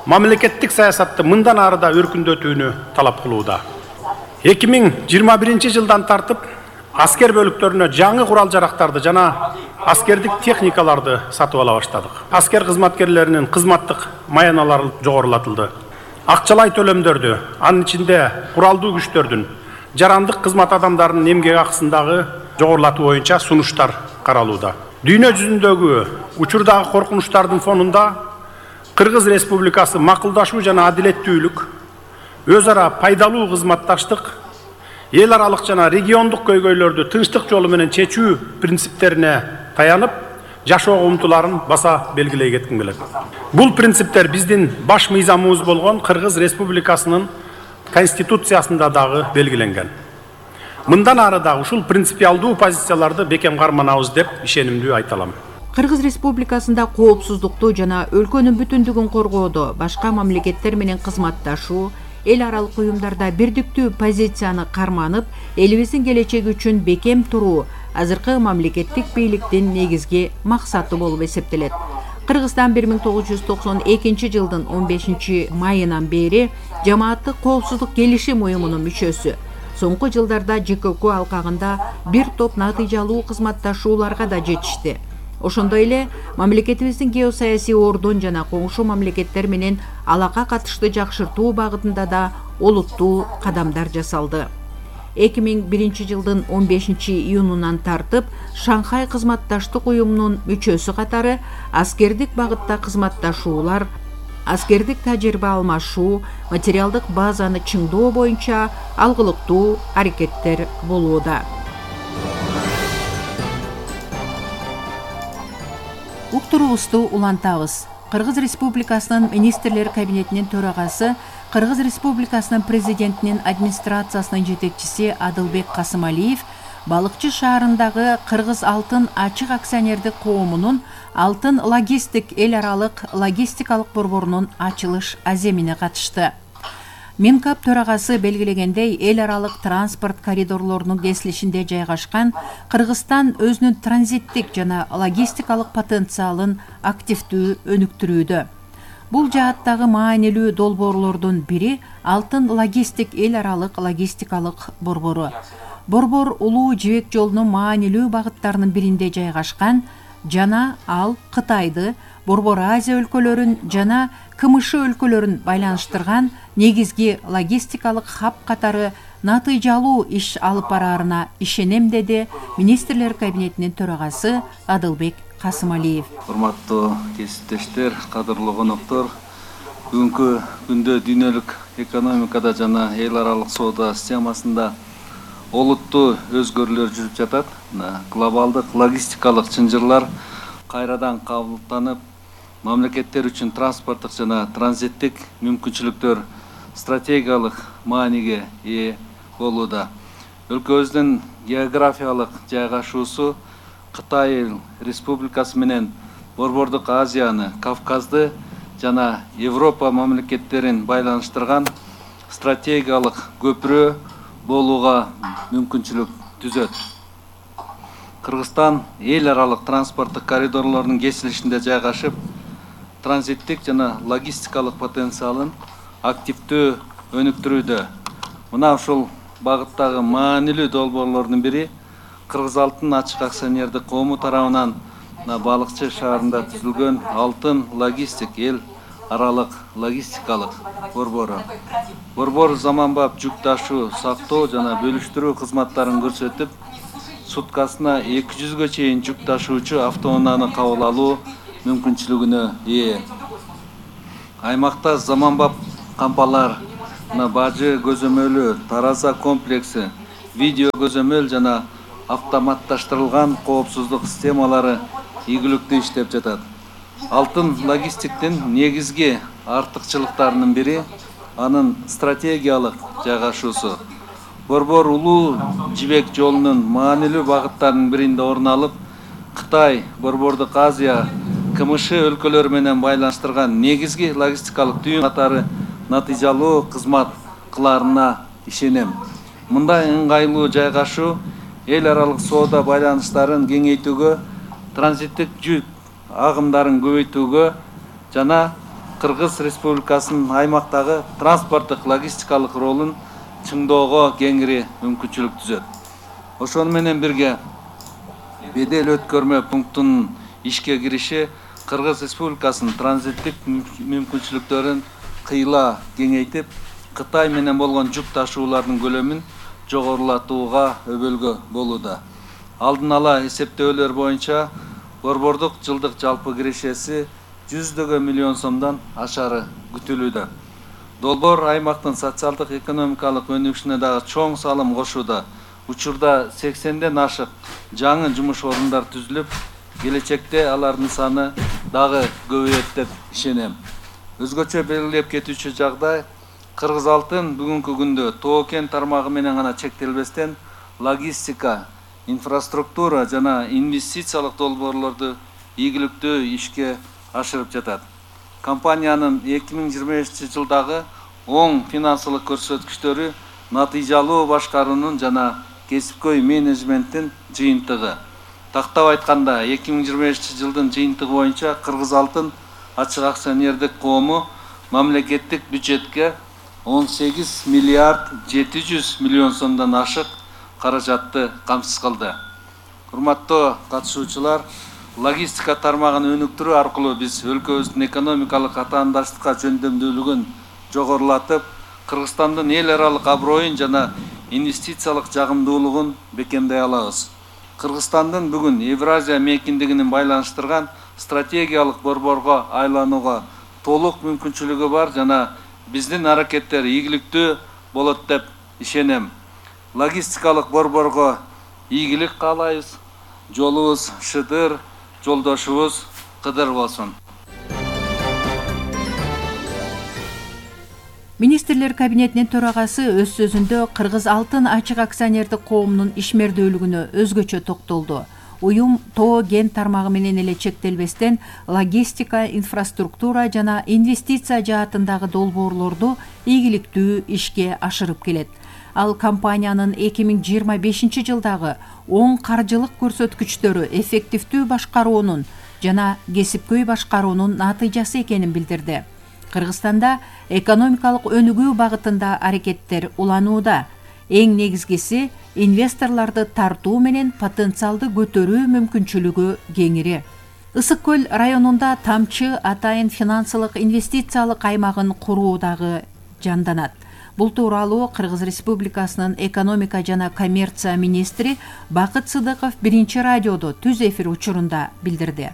мамлекеттик саясатты мындан ары да өркүндөтүүнү талап кылууда. эки миң жыйырма биринчи жылдан тартып аскер бөлүктөрүнө жаңы курал-жарактарды жана аскердик техникаларды сатып ала баштадык. Аскер кызматкерлеринин кызматтык маяналары жогорулатылды. Акчалай төлөмдөрдү, анын ичинде куралдуу күчтөрдүн, жарандык кызмат адамдарынын эмгек акысындагы жогорулатуу боюнча сунуштар каралууда. Дүйнө жүзүндөгү учурдагы коркунучтардын фонунда Кыргыз Республикасы макулдашуу жана адилеттүүлүк, өз ара пайдалуу кызматташтык, эл аралык жана региондук көйгөйлөрдү тынчтык жолу менен чечүү принциптерине таянып, жашоого умтуларын баса белгилей кетким келет. Бул принциптер биздин баш мыйзамыбыз болгон Кыргыз Республикасынын Конституциясында дагы белгиленген. Мындан ары да ушул принципиалдуу позицияларды бекем карманабыз деп ишенимдүү айта алам. Кыргыз Республикасында коопсуздукту жана өлкөнүн бүтүндүгүн коргоодо башка мамлекеттер менен кызматташуу, эл аралык уюмдарда бирдиктүү позицияны карманып, элибиздин келечеги үчүн бекем туруу азыркы мамлекеттик бийликтин негизги максаты болуп эсептелет. Кыргызстан бир миң тогуз жүз токсон экинчи жылдын он бешинчи майынан бери жамааттык коопсуздук келишим уюмунун мүчөсү. Соңку жылдарда Ж К К алкагында бир топ натыйжалуу кызматташууларга да жетишти. Ошондой эле мамлекетибиздин геосаясий ордун жана коңшу мамлекеттер менен алака катышты жакшыртуу багытында да олуттуу кадамдар жасалды. эки миң биринчи жылдын он бешинчи июнунан тартып Шанхай кызматташтык уюмунун мүчөсү катары аскердик багытта кызматташуулар, аскердик тажрыйба алмашуу, материалдык базаны чыңдоо боюнча алгылыктуу аракеттер болууда. Уктурубузду улантабыз. Кыргыз Республикасынын министрлер кабинетинин төрагасы, Кыргыз Республикасынын президентинин администрациясынын жетекчиси Адылбек Касымалиев Балыкчы шаарындагы Кыргыз Алтын ачык акционердик коомунун Алтын логистик эл аралык логистикалык борборунун ачылыш аземине катышты. Минкап төрагасы белгилегендей, эл аралык транспорт коридорлорунун кесилишинде жайгашкан Кыргызстан өзүнүн транзиттик жана логистикалык потенциалын активдүү өнүктүрүүдө. Бул жааттагы маанилүү долбоорлордун бири Алтын логистик эл аралык логистикалык борбору. Борбор улуу жибек жолунун маанилүү багыттарынын биринде жайгашкан жана ал Кытайды, Борбор Азия өлкөлөрүн жана К М Ш өлкөлөрүн байланыштырган негизги логистикалык хаб катары натыйжалуу иш алып бараарына ишенем, деди министрлер кабинетинин төрагасы Адылбек Касымалиев. Урматтуу кесиптештер, кадырлуу коноктор, Бүгүнкү күндө дүйнөлүк экономикада жана эл аралык соода системасында олуттуу өзгөрүүлөр жүрүп жатат. Глобалдык логистикалык чынжырлар кайрадан кабылданып, мамлекеттер үчүн транспорттук жана транзиттик мүмкүнчүлүктөр стратегиялык мааниге ээ болууда. Өлкөбүздүн географиялык жайгашуусу Кытай Республикасы менен Борбордук Азияны, Кавказды жана Европа мамлекеттерин байланыштырган стратегиялык көпүрө болууга мүмкүнчүлүк түзөт. Кыргызстан эл аралык транспорттук коридорлордун кесилишинде жайгашып, транзиттик жана логистикалык потенциалын активдүү өнүктүрүүдө. Мына ушул багыттагы маанилүү долбоорлордун бири Кыргыз Алтын ачык акционердик коому тарабынан Балыкчы шаарында түзүлгөн Алтын логистик эл аралык логистикалык борбору. Борбор заманбап жүк ташуу, сактоо жана бөлүштүрүү кызматтарын көрсөтүп, суткасына эки жүзгө чейин жүк ташуучу автоунааны кабыл алуу мүмкүнчүлүгүнө ээ. Аймакта заманбап кампалар, бажы көзөмөлү, тараза комплекси, видео көзөмөл жана автоматташтырылган коопсуздук системалары ийгиликтүү иштеп жатат. Алтын логистиктин негизги артыкчылыктарынын бири анын стратегиялык жайгашуусу. Борбор улуу жибек жолунун маанилүү багыттарынын биринде орун алып, Кытай, Борбордук Азия, КМШ өлкөлөрү менен байланыштырган негизги логистикалык түйүн катары натыйжалуу кызмат кыларына ишенем. Мындай ыңгайлуу жайгашуу эл аралык соода байланыштарын кеңейтүүгө, транзиттик жүк агымдарын көбөйтүүгө жана Кыргыз Республикасынын аймактагы транспорттук логистикалык ролун чыңдоого кеңири мүмкүнчүлүк түзөт. Ошону менен бирге бедел өткөрмө пунктунун ишке кириши Кыргыз Республикасынын транзиттик мүмкүнчүлүктөрүн кыйла кеңейтип, Кытай менен болгон жүк ташуулардын көлөмүн жогорулатууга өбөлгө болууда. Алдын ала эсептөөлөр боюнча борбордук жылдык жалпы кирешеси жүздөгөн миллион сомдон ашары күтүлүүдө. Долбоор аймактын социалдык экономикалык өнүгүшүнө дагы чоң салым кошууда. Учурда сексенден ашык жаңы жумуш орундар түзүлүп, келечекте алардын саны дагы көбөйөт деп ишенем. Өзгөчө белгилеп кетүүчү жагдай Кыргыз Алтын бүгүнкү күндө тоо-кен тармагы менен гана чектелбестен логистика, инфраструктура жана инвестициялык долбоорлорду ийгиликтүү ишке ашырып жатат. Компаниянын эки миң жыйырма бешинчи жылдагы оң финансылык көрсөткүчтөрү натыйжалуу башкаруунун жана кесипкөй менеджменттин жыйынтыгы. Тактап айтканда, эки миң жыйырма бешинчи жылдын жыйынтыгы боюнча Кыргыз Алтын ачык акционердик коому мамлекеттик бюджетке он сегиз миллиард жети жүз миллион сомдон ашык каражатты камсыз кылды. Урматтуу катышуучулар, логистика тармагын өнүктүрүү аркылуу биз өлкөбүздүн экономикалык атаандаштыкка жөндөмдүүлүгүн жогорулатып, Кыргызстандын эл аралык аброюн жана инвестициялык жагымдуулугун бекемдей алабыз. Кыргызстандын бүгүн Евразия мейкиндигинин байланыштырган стратегиялык борборго айланууга толук мүмкүнчүлүгү бар жана биздин аракеттер ийгиликтүү болот деп ишенем. Логистикалык борборго ийгилик каалайбыз. Жолубуз шыдыр, жолдошубуз кыдыр болсун. Министрлер кабинетинин төрагасы өз сөзүндө Кыргыз Алтын ачык акционердик коомунун ишмердүүлүгүнө өзгөчө токтолду. Уюм тоо-кен тармагы менен эле чектелбестен логистика, инфраструктура жана инвестиция жаатындагы долбоорлорду ийгиликтүү ишке ашырып келет. Ал компаниянын эки миң жыйырма бешинчи жылдагы оң каржылык көрсөткүчтөрү эффективдүү башкаруунун жана кесипкөй башкаруунун натыйжасы экенин билдирди. Кыргызстанда экономикалык өнүгүү багытында аракеттер уланууда. Эң негизгиси инвесторлорду тартуу менен потенциалды көтөрүү мүмкүнчүлүгү кеңири. Ысык көл районунда тамчы атайын финансылык инвестициялык аймагын куруу дагы жанданат. Бул тууралуу Кыргыз Республикасынын экономика жана коммерция министри Бакыт Сыдыков биринчи радиодо түз эфир учурунда билдирди.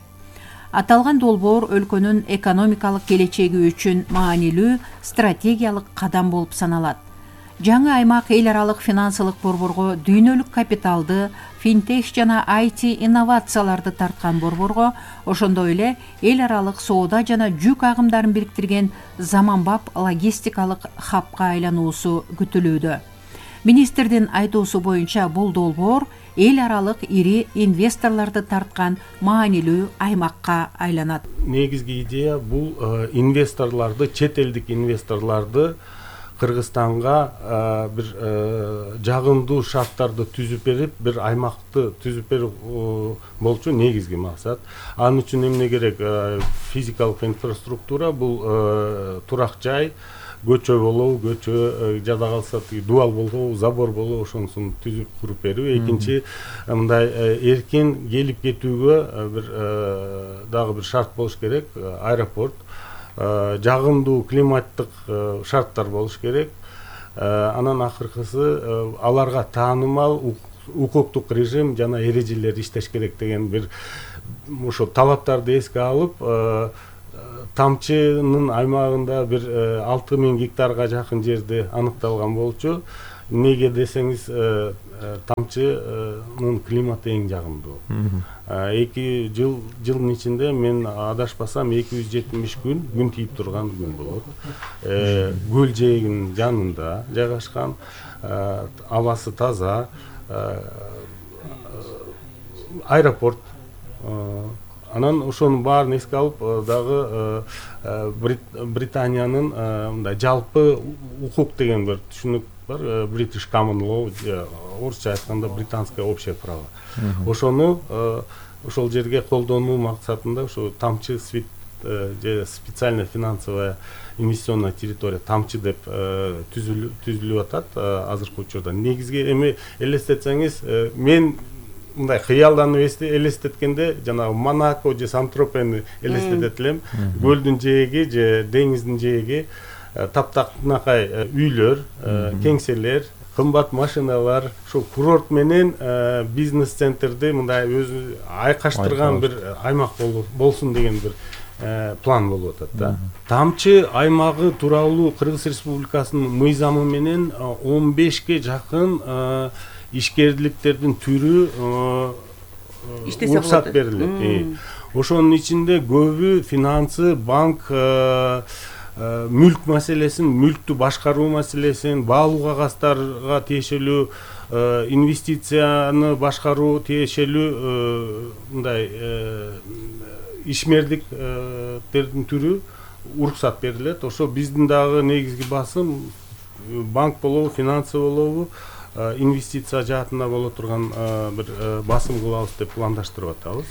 Аталган долбоор өлкөнүн экономикалык келечеги үчүн маанилүү стратегиялык кадам болуп саналат. Жаңы аймак эл аралык финансылык борборго дүйнөлүк капиталды, финтех жана ай ти инновацияларды тарткан борборго, ошондой эле эл аралык соода жана жүк агымдарын бириктирген заманбап логистикалык хабка айлануусу күтүлүүдө. Министрдин айтуусу боюнча бул долбоор эл аралык ири инвесторлорду тарткан маанилүү аймакка айланат. Негизги идея бул инвесторлорду, чет элдик инвесторлорду Кыргызстанга бир жагымдуу шарттарды түзүп берип, бир аймакты түзүп берүү болчу негизги максат. Анын үчүн эмне керек? Физикалык инфраструктура, бул турак жай, көчө болобу, көчө жада калса дубал болобу, забор болобу, ошонусун түзүп куруп берүү. Экинчи, мындай эркин келип кетүүгө бир дагы бир шарт болуш керек, аэропорт. Жагымдуу климаттык шарттар болуш керек. Анан акыркысы аларга таанымал укуктук режим жана эрежелер иштеш керек деген бир ошо талаптарды эске алып, тамчынын аймагында бир алты миң гектарга жакын жерде аныкталган болчу. Неге десеңиз, тамчынын климаты эң жагымдуу. Эки жыл жылдын ичинде мен адашпасам эки жүз жетимиш күн күн тийип турган күн болот. Көл жээгинин жанында жайгашкан, абасы таза, аэропорт. Анан ошонун баарын эске алып, дагы Британиянын мындай жалпы укук деген бир түшүнүк бар, British Common Law, орусча айтканда британское общее право. Ошону ошол жерге колдонуу максатында ошо тамчы свит же специальная финансовая инвестиционная территория, тамчы деп түзүлүп атат азыркы учурда. Негизги эми элестетсеңиз, мен мындай кыялданып элестеткенде жанагы Монако же Сан-Тропени элестетет элем. Көлдүн жээги же деңиздин жээги, таптакнакай үйлөр, кеңселер, кымбат машиналар, ошо курорт менен бизнес центрди мындай өзү айкаштырган бир аймак болсун деген бир план болуп атат да. Тамчы аймагы тууралуу Кыргыз Республикасынын мыйзамы менен он бешке жакын ишкерликтердин түрү уруксат берилет. Ошонун ичинде көбү финансы, банк, мүлк маселесин, мүлктү башкаруу маселесин, баалуу кагаздарга тиешелүү, инвестицияны башкаруу тиешелүү мындай ишмердиктердин түрү уруксат берилет. Ошо биздин дагы негизги басым банк болобу, финансы болобу, инвестиция жаатында боло турган бир басым кылабыз деп пландаштырып атабыз.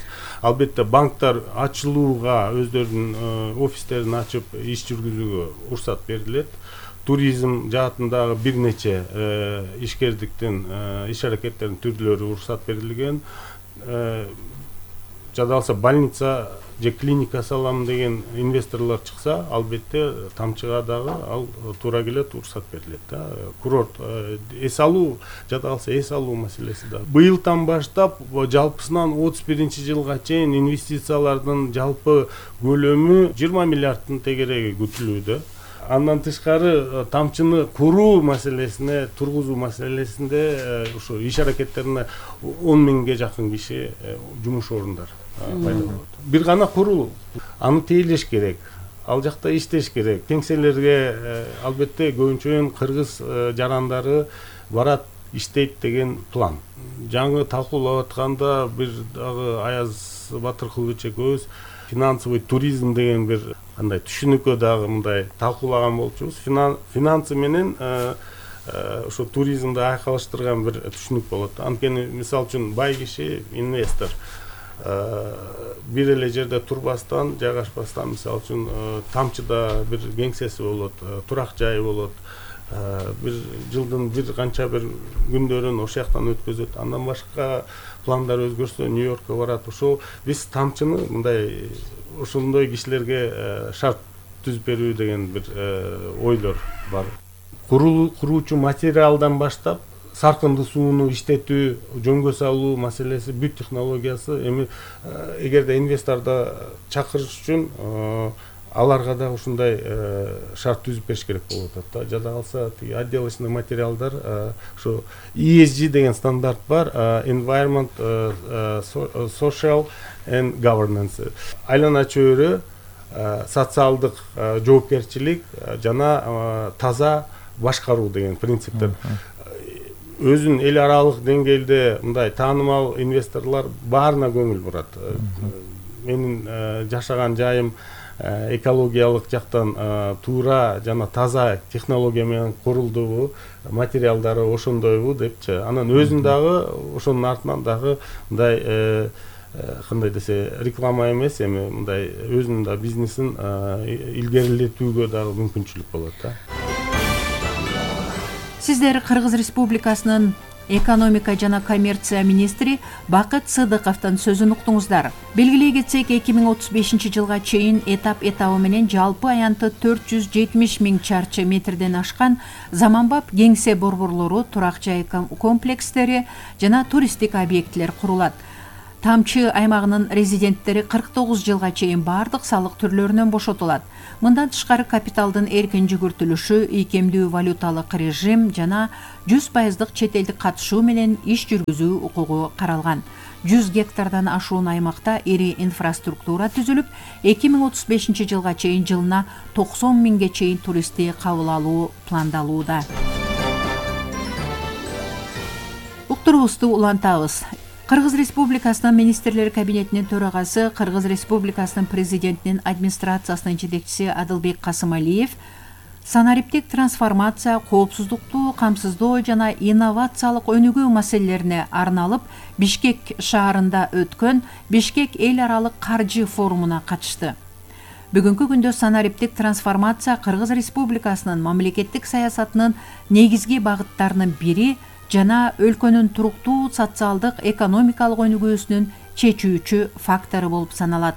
Албетте банктар ачылууга, өздөрүнүн офистерин ачып иш жүргүзүүгө уруксат берилет. Туризм жаатындагы бир нече ишкердиктин, иш аракеттердин түрлөрү уруксат берилген. Жада калса больница же клиника салам деген инвесторлор чыкса, албетте тамчыга дагы ал туура келет, уруксат берилет да. Курорт, эс алуу, жада калса эс алуу маселеси да. Быйылдан баштап жалпысынан отуз биринчи жылга чейин инвестициялардын жалпы көлөмү жыйырма миллиардтын тегереги күтүлүүдө. Андан тышкары тамчыны куруу маселесине, тургузуу маселесинде ошо иш аракеттерине он миңге жакын киши жумуш орундар пайда болот. Бир гана куруу, аны тейлеш керек, ал жакта иштеш керек. Кеңселерге албетте көбүнчө кыргыз жарандары барат, иштейт деген план. Жаңы талкуулап атканда бир дагы Аяз Батыркулович экөөбүз финансовый туризм деген бир кандай түшүнүккө дагы мындай талкуулаган болчубуз. Финансы менен ошо туризмди айкалыштырган бир түшүнүк болот. Анткени мисалы үчүн бай киши, инвестор бир эле жерде турбастан, жайгашпастан, мисалы үчүн тамчыда бир кеңсеси болот, турак жайы болот, бир жылдын бир канча бир күндөрүн ошол жактан өткөзөт. Андан башка пландар өзгөрсө Нью-Йоркко барат. Ошо биз тамчыны мындай ошондой кишилерге шарт түзүп берүү деген бир ойлор бар. Куруучу материалдан баштап саркынды сууну иштетүү, жөнгө салуу маселеси, бүт технологиясы эми эгерде инвесторду чакырыш үчүн аларга да ушундай шарт түзүп бериш керек болуп атат да. Жада калса тиги отделочный материалдар ушу и эс джи деген стандарт бар, environment, social and governance. Айлана чөйрө, социалдык жоопкерчилик жана таза башкаруу деген принциптер. Өзүн эл аралык деңгээлде мындай таанымал инвесторлор баарына көңүл бурат. Менин жашаган жайым экологиялык жактан туура жана таза технология менен курулдубу, материалдары ошондойбу депчи. Анан өзүн дагы ошонун артынан дагы мындай кандай десе реклама эмес, эми мындай өзүнүн да бизнесин илгерилетүүгө дагы мүмкүнчүлүк болот да. Сиздер Кыргыз Республикасынын экономика жана коммерция министри Бакыт Сыдыковдун сөзүн уктуңуздар. Белгилей кетсек, эки миң отуз бешинчи жылга чейин этап этабы менен жалпы аянты төрт жүз жетимиш миң чарчы метрден ашкан заманбап кеңсе борборлору, турак жай комплекстери жана туристтик объектилер курулат. Тамчы аймагынын резиденттери кырк тогуз жылга чейин бардык салык түрлөрүнөн бошотулат. Мындан тышкары капиталдын эркин жүгүртүлүшү, ийкемдүү валюталык режим жана жүз пайыздык чет элдик катышуу менен иш жүргүзүү укугу каралган. жүз гектардан ашуун аймакта ири инфраструктура түзүлүп, эки миң отуз бешинчи жылга чейин жылына токсон миңге чейин туристти кабыл алуу пландалууда. Уктурубузду улантабыз. Кыргыз Республикасынын министрлер кабинетинин төрагасы, Кыргыз Республикасынын президентинин администрациясынын жетекчиси Адылбек Касымалиев санариптик трансформация, коопсуздукту камсыздоо жана инновациялык өнүгүү маселелерине арналып Бишкек шаарында өткөн Бишкек эл аралык каржы форумуна катышты. Бүгүнкү күндө санариптик трансформация Кыргыз Республикасынын мамлекеттик саясатынын негизги багыттарынын бири жана өлкөнүн туруктуу социалдык экономикалык өнүгүүсүнүн чечүүчү фактору болуп саналат.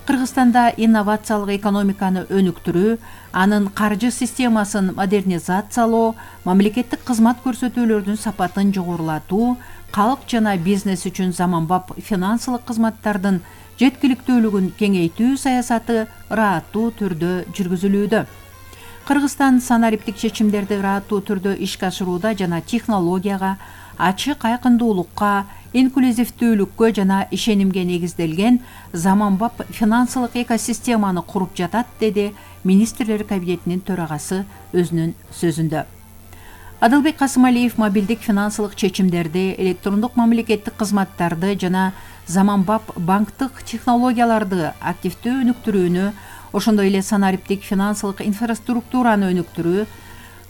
Кыргызстанда инновациялык экономиканы өнүктүрүү, анын каржы системасын модернизациялоо, мамлекеттик кызмат көрсөтүүлөрдүн сапатын жогорулатуу, калк жана бизнес үчүн заманбап финансылык кызматтардын жеткиликтүүлүгүн кеңейтүү саясаты ырааттуу түрдө жүргүзүлүүдө. Кыргызстан санариптик чечимдерди ырааттуу түрдө ишке ашырууда жана технологияга, ачык айкындуулукка, инклюзивдүүлүккө жана ишенимге негизделген заманбап финансылык экосистеманы куруп жатат, деди министрлер кабинетинин төрагасы өзүнүн сөзүндө. Адылбек Касымалиев мобилдик финансылык чечимдерди, электрондук мамлекеттик кызматтарды жана заманбап банктык технологияларды активдүү өнүктүрүүнү, ошондой эле санариптик финансылык инфраструктураны өнүктүрүү,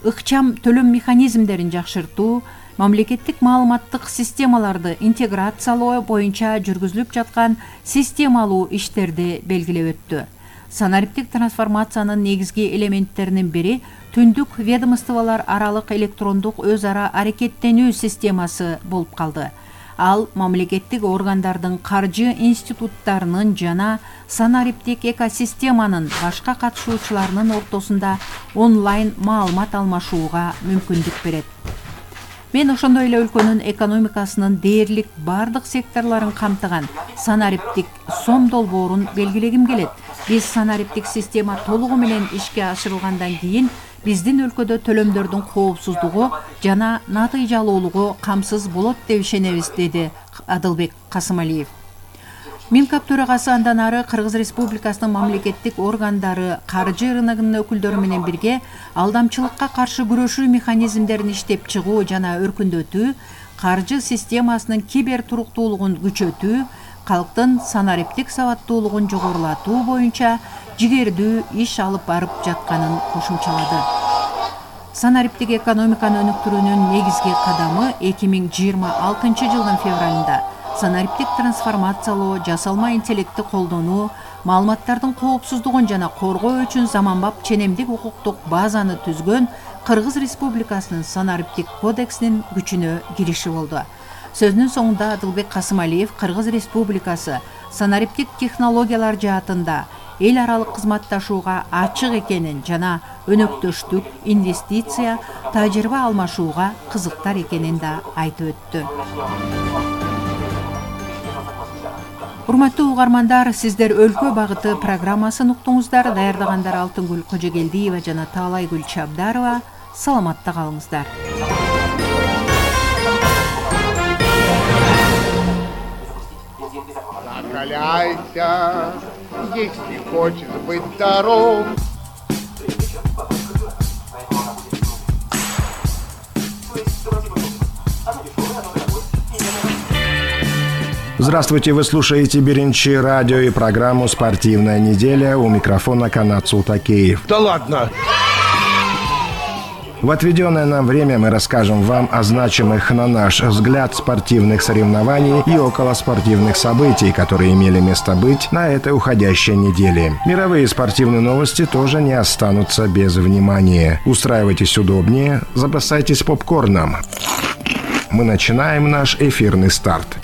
ыкчам төлөм механизмдерин жакшыртуу, мамлекеттик маалыматтык системаларды интеграциялоо боюнча жүргүзүлүп жаткан системалуу иштерди белгилеп өттү. Санариптик трансформациянын негизги элементтеринин бири түндүк ведомстволор аралык электрондук өз ара аракеттенүү системасы болуп калды. Ал мамлекеттик органдардын, каржы институттарынын жана санариптик экосистеманын башка катышуучуларынын ортосунда онлайн маалымат алмашууга мүмкүндүк берет. Мен ошондой эле өлкөнүн экономикасынын дээрлик бардык секторлорун камтыган санариптик сом долбоорун белгилегим келет. Биз санариптик система толугу менен ишке ашырылгандан кийин биздин өлкөдө төлөмдөрдүн коопсуздугу жана натыйжалуулугу камсыз болот деп ишенебиз, деди Адылбек Касымалиев. Минкап төрагасы андан ары Кыргыз Республикасынын мамлекеттик органдары каржы рыногунун өкүлдөрү менен бирге алдамчылыкка каршы күрөшүү механизмдерин иштеп чыгуу жана өркүндөтүү, каржы системасынын кибер туруктуулугун күчөтүү, калктын санариптик сабаттуулугун жогорулатуу боюнча жигердүү иш алып барып жатканын кошумчалады. Санариптик экономиканы өнүктүрүүнүн негизги кадамы эки миң жыйырма алтынчы жылдын февралында санариптик трансформациялоо, жасалма интеллектти колдонуу, маалыматтардын коопсуздугун жана коргоо үчүн заманбап ченемдик укуктук базаны түзгөн Кыргыз Республикасынын санариптик кодексинин күчүнө кириши болду. Сөзүнүн соңунда Адылбек Касымалиев Кыргыз Республикасы санариптик технологиялар жаатында эл аралык кызматташууга ачык экенин жана өнөктөштүк, инвестиция, тажрыйба алмашууга кызыктар экенин да айтып өттү. Урматтуу угармандар, сиздер Өлкө багыты программасын уктуңуздар. Даярдагандар Алтынгүл Кожогелдиева жана Таалайгүл Чабдарова. Саламатта калыңыздар. Закаляйся, если хочешь быть здоров. Здравствуйте, вы слушаете Биринчи радио и программу «Спортивная неделя». У микрофона Канат Султакеев. Да ладно! В отведенное нам время мы расскажем вам о значимых, на наш взгляд, спортивных соревнований и околоспортивных событий, которые имели место быть на этой уходящей неделе. Мировые спортивные новости тоже не останутся без внимания. Устраивайтесь удобнее, запасайтесь попкорном. Мы начинаем наш эфирный старт.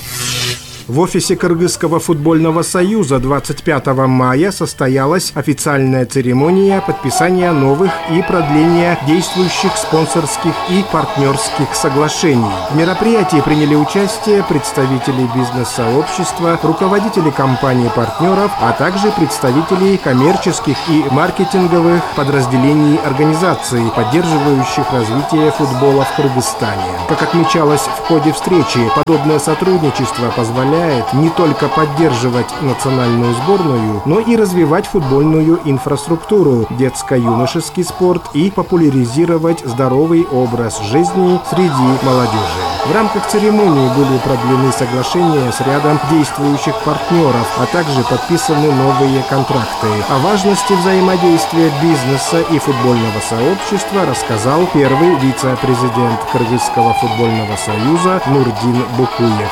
В офисе Кыргызского футбольного союза двадцать пятого мая состоялась официальная церемония подписания новых и продления действующих спонсорских и партнерских соглашений. В мероприятии приняли участие представители бизнес-сообщества, руководители компаний-партнеров, а также представители коммерческих и маркетинговых подразделений организаций, поддерживающих развитие футбола в Кыргызстане. Как отмечалось в ходе встречи, подобное сотрудничество позволяет не только поддерживать национальную сборную, но и развивать футбольную инфраструктуру, детско-юношеский спорт и популяризировать здоровый образ жизни среди молодежи. В рамках церемонии были продлены соглашения с рядом действующих партнеров, а также подписаны новые контракты. О важности взаимодействия бизнеса и футбольного сообщества рассказал первый вице-президент Кыргызского футбольного союза Нурдин Букуев.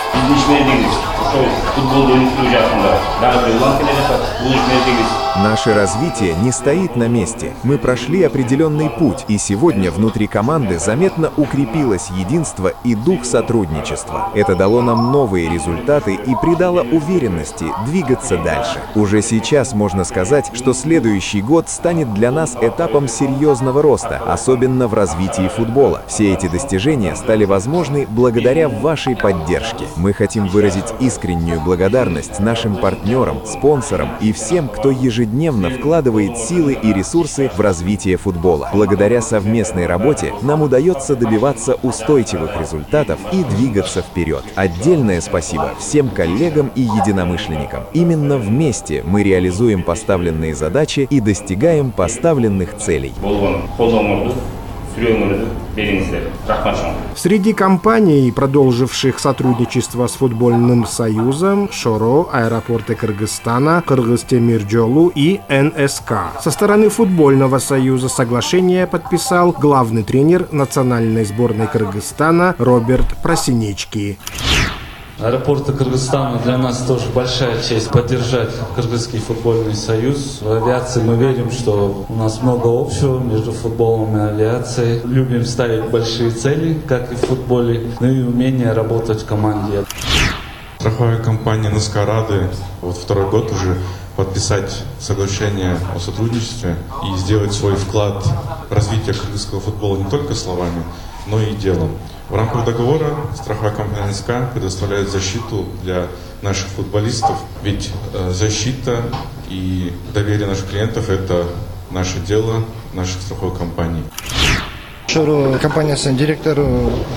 Наше развитие не стоит на месте. Мы прошли определенный путь, и сегодня внутри команды заметно укрепилось единство и дух сотрудничества. Это дало нам новые результаты и придало уверенности двигаться дальше. Уже сейчас можно сказать, что следующий год станет для нас этапом серьезного роста, особенно в развитии футбола. Все эти достижения стали возможны благодаря вашей поддержке. Мы хотим выразить искреннюю благодарность нашим партнерам, спонсорам и всем, кто ежедневно вкладывает силы и ресурсы в развитие футбола. Благодаря совместной работе нам удается добиваться устойчивых результатов и двигаться вперед. Отдельное спасибо всем коллегам и единомышленникам. Именно вместе мы реализуем поставленные задачи и достигаем поставленных целей. Среди компаний, продолживших сотрудничество с футбольным союзом, ШОРО, Аэропорты Кыргызстана, Кыргызтемиржолу и эн эс ка. Со стороны футбольного союза соглашение подписал главный тренер национальной сборной Кыргызстана Роберт Просинечки. Аэропорты Кыргызстана для нас тоже большая честь поддержать Кыргызский футбольный союз. В авиации мы верим, что у нас много общего между футболом и авиацией. Любим ставить большие цели, как и в футболе, ну и умение работать в команде. Страховая компания НСК рады вот второй год уже подписать соглашение о сотрудничестве и сделать свой вклад в развитие кыргызского футбола не только словами, но и делом. В рамках договора страховая компания НСК предоставляет защиту для наших футболистов, ведь э, защита и доверие наших клиентов – это наше дело, наших страховой компаний. ШОРО компаниясының директоры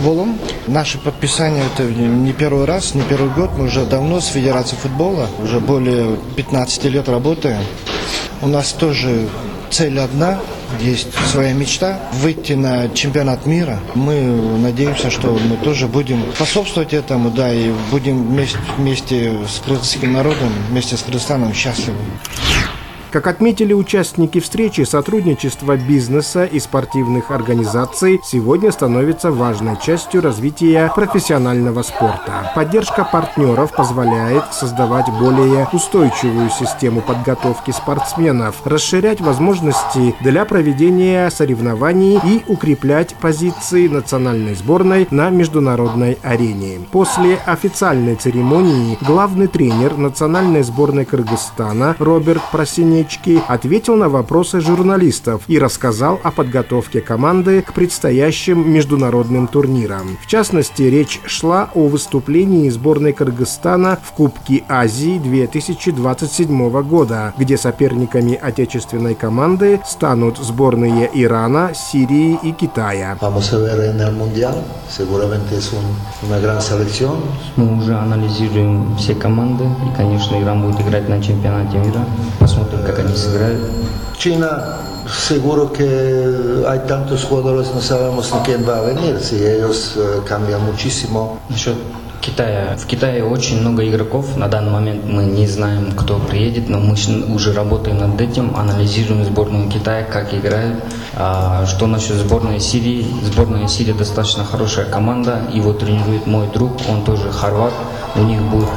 болом. Наше подписание это не первый раз, не первый год. Мы уже давно с Федерацией футбола, уже более пятнадцати лет работаем. У нас тоже цель одна, есть своя мечта – выйти на чемпионат мира. Мы надеемся, что мы тоже будем способствовать этому, да, и будем вместе, вместе с кыргызским народом, вместе с Кыргызстаном счастливы. Как отметили участники встречи, сотрудничество бизнеса и спортивных организаций сегодня становится важной частью развития профессионального спорта. Поддержка партнеров позволяет создавать более устойчивую систему подготовки спортсменов, расширять возможности для проведения соревнований и укреплять позиции национальной сборной на международной арене. После официальной церемонии главный тренер национальной сборной Кыргызстана Роберт Просинечки Янички ответил на вопросы журналистов и рассказал о подготовке команды к предстоящим международным турнирам. В частности, речь шла о выступлении сборной Кыргызстана в Кубке Азии две тысячи двадцать седьмого года, где соперниками отечественной команды станут сборные Ирана, Сирии и Китая. Мы уже анализируем все команды, и, конечно, Иран будет играть на чемпионате мира. Посмотрим, как они сыграют. China, seguro que hay tantos jugadores, no sabemos ni quién va a venir, si ellos uh, cambian muchísimo. Насчет Китая. В Китае очень много игроков. На данный момент мы не знаем, кто приедет, но мы уже работаем над этим, анализируем сборную Китая, как играют. А что насчет сборной Сирии? Сборная Сирии достаточно хорошая команда. Его тренирует мой друг, он тоже хорват. У них будет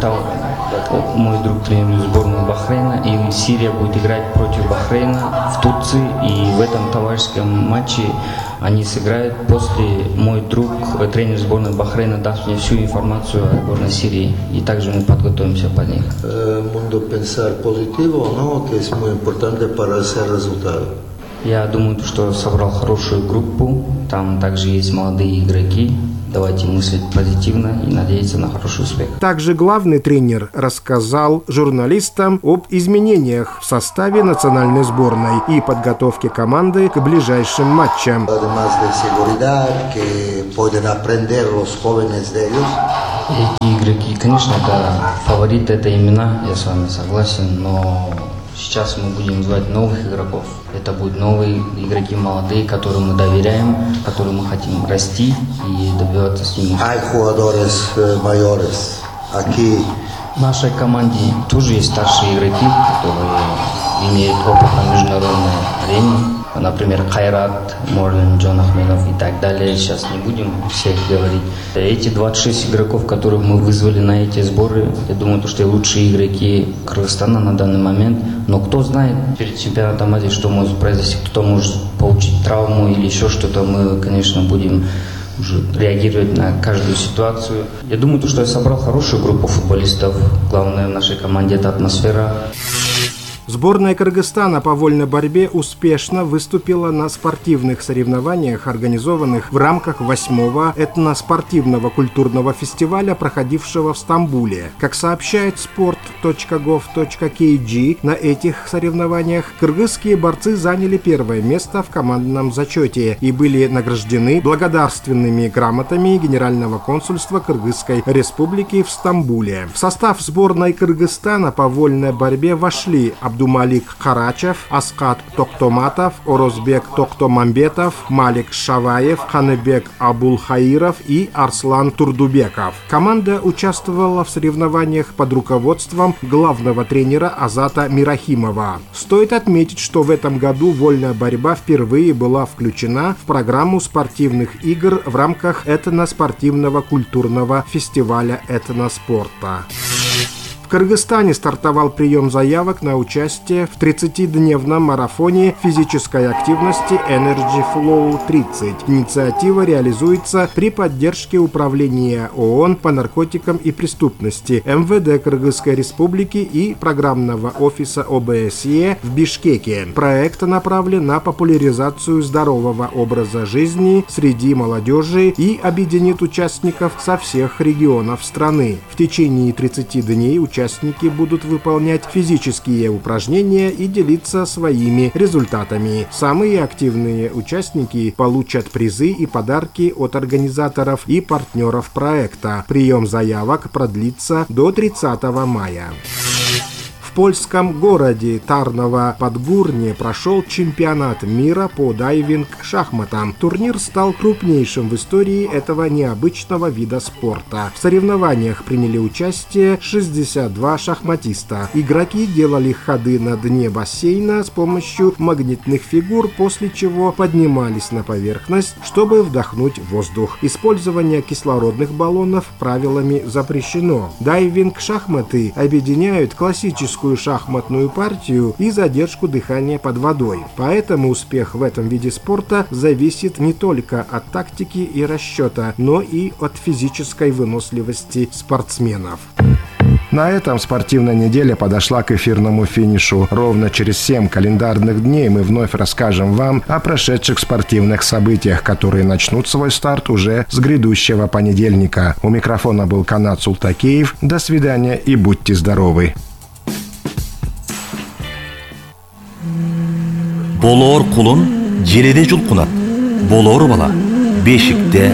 мой друг тренирует сборную Бахрейна, и Сирия будет играть против Бахрейна в Турции. И в этом товарищеском матче они сыграют. После мой друг, тренер сборной Бахрейна, даст мне всю информацию о сборной Сирии, и также мы подготовимся под них. Я думаю, что собрал хорошую группу, там также есть молодые игроки. Давайте мыслить позитивно и надеяться на хороший успех. Также главный тренер рассказал журналистам об изменениях в составе национальной сборной и подготовке команды к ближайшим матчам. Эти игроки, конечно, это фавориты, это имена, я с вами согласен, но сейчас мы будем звать новых игроков. Это будут новые игроки, молодые, которым мы доверяем, которым мы хотим расти и добиваться с ними. В нашей команде тоже есть старшие игроки, которые имеют опыт на международной арене. Например, Кайрат, Морлин, Джон Ахмедов и так далее. Сейчас не будем всех говорить. Эти двадцать шесть игроков, которых мы вызвали на эти сборы, я думаю, что лучшие игроки Кыргызстана на данный момент. Но кто знает перед чемпионатом Азии, что может произойти, кто может получить травму или еще что-то. Мы, конечно, будем уже реагировать на каждую ситуацию. Я думаю, что я собрал хорошую группу футболистов. Главное в нашей команде — это атмосфера. Сборная Кыргызстана по вольной борьбе успешно выступила на спортивных соревнованиях, организованных в рамках восьмого этноспортивного культурного фестиваля, проходившего в Стамбуле. Как сообщает спорт точка гов точка кей джи, на этих соревнованиях кыргызские борцы заняли первое место в командном зачете и были награждены благодарственными грамотами Генерального консульства Кыргызской республики в Стамбуле. В состав сборной Кыргызстана по вольной борьбе вошли Абдумалик Карачев, Аскат Токтоматов, Орозбек Токтомамбетов, Малик Шаваев, Ханыбек Абулхаиров и Арслан Турдубеков. Команда участвовала в соревнованиях под руководством главного тренера Азата Мирахимова. Стоит отметить, что в этом году вольная борьба впервые была включена в программу спортивных игр в рамках этноспортивного культурного фестиваля этноспорта. В Кыргызстане стартовал прием заявок на участие в тридцатидневном марафоне физической активности Energy Flow тридцать. Инициатива реализуется при поддержке Управления ООН по наркотикам и преступности, эм вэ дэ Кыргызской Республики и программного офиса о бэ эс е в Бишкеке. Проект направлен на популяризацию здорового образа жизни среди молодежи и объединит участников со всех регионов страны. В течение тридцати дней участники Участники будут выполнять физические упражнения и делиться своими результатами. Самые активные участники получат призы и подарки от организаторов и партнеров проекта. Прием заявок продлится до тридцатого мая. В польском городе Тарново-Подгурне прошел чемпионат мира по дайвинг-шахматам. Турнир стал крупнейшим в истории этого необычного вида спорта. В соревнованиях приняли участие шестьдесят два шахматиста. Игроки делали ходы на дне бассейна с помощью магнитных фигур, после чего поднимались на поверхность, чтобы вдохнуть воздух. Использование кислородных баллонов правилами запрещено. Дайвинг-шахматы объединяют классическую шахматную партию и задержку дыхания под водой. Поэтому успех в этом виде спорта зависит не только от тактики и расчета, но и от физической выносливости спортсменов. На этом спортивная неделя подошла к эфирному финишу. Ровно через семь календарных дней мы вновь расскажем вам о прошедших спортивных событиях, которые начнут свой старт уже с грядущего понедельника. У микрофона был Канат Султакеев. До свидания и будьте здоровы. Болоор кулун желеде жулкунат. Болоор бала бешикте